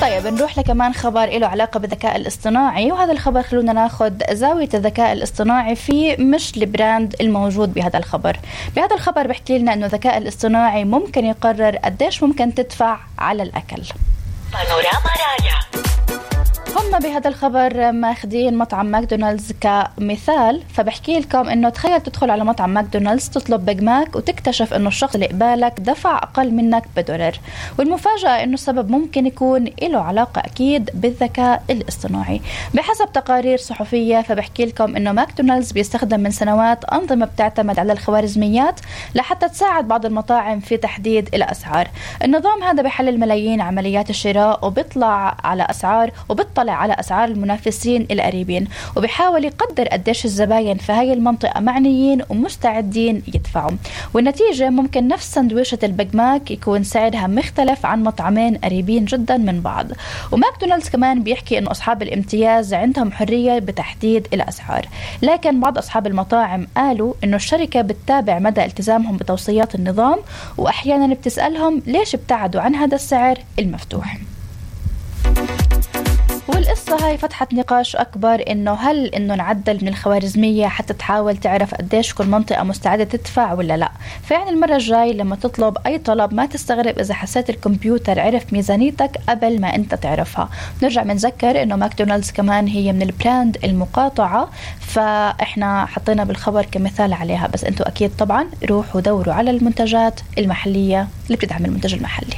طيب نروح لكمان خبر له علاقة بالذكاء الاصطناعي، وهذا الخبر خلونا ناخد زاوية الذكاء الاصطناعي فيه مش البراند الموجود بهذا الخبر. بهذا الخبر بحكي لنا انه الذكاء الاصطناعي ممكن يقرر قديش ممكن تدفع على الأكل. بانوراما راديو. هم بهذا الخبر ماخدين مطعم ماكدونالدز كمثال، فبحكي لكم انه تخيل تدخل على مطعم ماكدونالدز تطلب بيج ماك وتكتشف انه الشخص اللي قبالك دفع اقل منك $1، والمفاجأة انه السبب ممكن يكون له علاقة اكيد بالذكاء الاصطناعي. بحسب تقارير صحفية فبحكي لكم انه ماكدونالدز بيستخدم من سنوات انظمة بتعتمد على الخوارزميات لحتى تساعد بعض المطاعم في تحديد الاسعار. النظام هذا بيحلل ملايين عمليات الشراء وبيطلع على على أسعار المنافسين القريبين، وبيحاول يقدر قديش الزباين في هاي المنطقة معنيين ومستعدين يدفعوا. والنتيجة ممكن نفس سندويشة البيج ماك يكون سعرها مختلف عن مطعمين قريبين جدا من بعض. وماكدونالدز كمان بيحكي إنه أصحاب الامتياز عندهم حرية بتحديد الأسعار، لكن بعض أصحاب المطاعم قالوا إنه الشركة بتتابع مدى التزامهم بتوصيات النظام، وأحيانا بتسألهم ليش ابتعدوا عن هذا السعر المفتوح. والقصة هاي فتحت نقاش أكبر إنه هل إنه نعدل من الخوارزمية حتى تحاول تعرف قديش كل منطقة مستعدة تدفع ولا لا. فيعني المرة الجاي لما تطلب أي طلب ما تستغرب إذا حسيت الكمبيوتر عرف ميزانيتك قبل ما أنت تعرفها. نرجع منذكر إنه ماكدونالدز كمان هي من البراند المقاطعة، فإحنا حطينا بالخبر كمثال عليها، بس أنتوا أكيد طبعا روحوا دوروا على المنتجات المحلية اللي بتدعم المنتج المحلي.